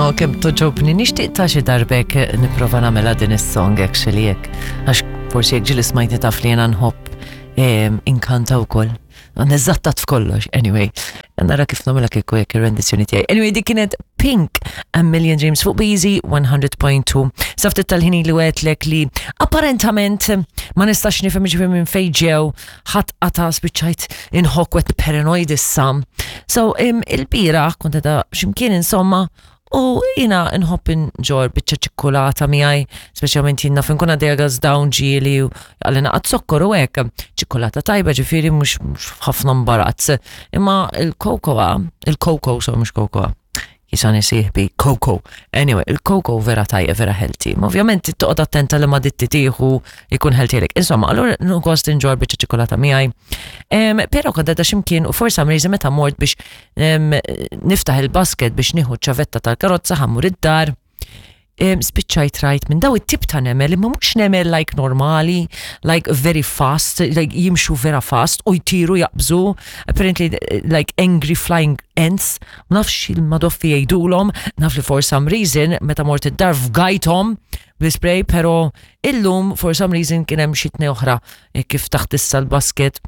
Oh, kemm toġobni, nixtieq ta' xi darbek nipprova nagħmilha din is-song actually hekk. Għax forsi jekk ġieli smajtni taf li jiena nħobb inkanta wkoll. Neżattat f'kollox, anyway. Nara kif nagħmilha kieku jekk ir-rendizzjoni tiegħi. Anyway, dik kienet Pink A Million Dreams fuq Beezy 100.2. Saftit tal-ħini li għetlek li apparentament ma nistax nifhem ġifieri minn fejn ġew ħadd qata spiċċajt inħokk wet paranoid issa. So il-bira kont edha x'imkien insomma u jina nħobb inġor biċċa ċikkulata miegħi, speċjalment jien naf inkun għaddejja gas down ġieli u għalli naqgħod zokkor u hekk. Ċikkulata tajba ġifieri mhux ħafna mbarazz. Imma il-kokoa, il-koko, so mhux kokoa, jisani sieħbi, koko. Anyway, il-koko vera tajja, vera healthy. Ma ovvjament toqgħod attenta li ma ditti tieħu jkun healthy lek. Insomma, allura gost inġor biċċa ċikolata miegħi. Però kont għadha x'imkien u forsa mriżi meta mort biex niftaħ il-basket biex nieħu ċavetta tal-karozza ħammur id-dar spiċċajt rajt minn daw it-tip ta' nemel, imma mhux nemel like normali, like very fast, like jimxu vera fast u jtiru jaqbżu, apparently like angry flying ants, ma nafx il-madoffi jgħidulhom, naf li for some reason meta mort id-dar fgajthom bl-spray, pero illum for some reason kien hemm xi tnej oħra eh, kif taħt issa l-basket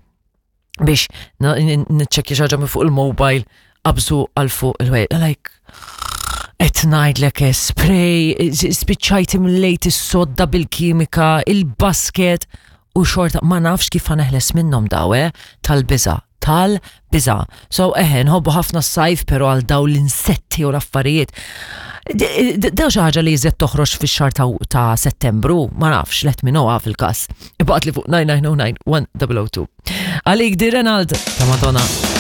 biex niċċekkja xi ħaġa minn fuq il-mobile qabżu għal fuq il-wej. Like, qed ngħidlek eh, spray, eh, spiċċajt imlejt is-sodda bil-kimika, il-basket u xorta ma nafx kif ħaneħles minnhom daw, eh, tal-biża' tal-biża. So eħe, nħobbu ħafna s-sajf pero għal daw l-insetti u l-affarijiet. Daw xi ħaġa li jżed toħroġ fix-xahar ta' Settembru, ma nafx, let me know fil-każ. Ibaqgħet li fuq 9909 1002. Għalik di Renald ta' Madonna.